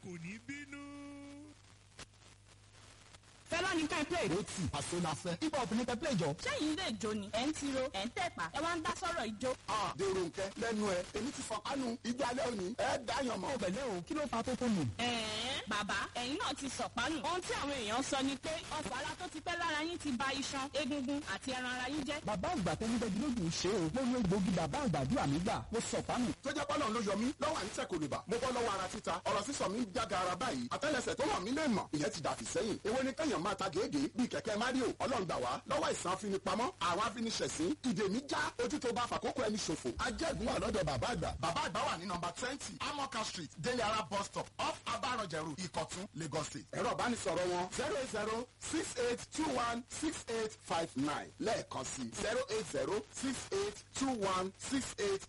kò ní bínú. Fẹlá ní ká ẹ play. Ó tì àṣọ la fẹ́. Hip hop ní kẹ́ play jọ. Ṣẹ́yìn lè jó ni, ẹ̀ ń tiro, ẹ̀ ń tẹ̀pá, ẹ wá ń dá sọ̀rọ̀ ìjó. A dèrò nkẹ lẹ́nu ẹ, èmi ti fọ kánú ijó alẹ́ òní, ẹ dáyàn mọ́. Ó bẹ̀lẹ́ o, kí ló fa tó tó nù? Ẹ̀ẹ́n, bàbá, ẹ̀yin náà ti sọ̀pánù. Ohun tí àwọn èèyàn sọ ni pé ọ̀fọ̀ ara tó ti pẹ́ lára yín ti ba iṣan, egungun àti ẹran ara yín jẹ́. Bàbá àgbà tẹnudẹ́gi lójú ṣe o. Mo lo egbògi bàbá àgbàdua mi gbà. Mo sọ̀pánù. Tó jẹ́ pọ́lọ́ ló yọ mí lọ́wọ́ à ń tẹ̀ kòlùbà. Mo bọ́ lọ́wọ́ ara títa, ọ̀rọ̀ sísọ mi ń jága ara báyìí. Àtẹ́lẹsẹ̀ tó hàn mí lè mọ̀, ìyẹn ti dàfí sẹ́yìn. Èwo ni kẹ́yàn máa ta gègé bíi kẹ̀kẹ́ Mario? Ọlọ́run gbà wá lọ́wọ́ ìsàn afinipamọ́, àwọn afiniṣẹ̀sín, ìdè mi já, ojú tó bá fàkókò ẹni ṣòfò. Ajẹ́gun wà lọ́dọ̀ bàbá àgbà. Bàbá àgbà wà ní nọmba 20, Amoka Street, Délé Ara bus stop, off Abaranjẹrù, Ìkọ̀tún, Lagos State. Ẹ̀rọ ìbánisọ̀rọ̀ wọn 08068216859 lẹ́ẹ̀kan sí 080682168.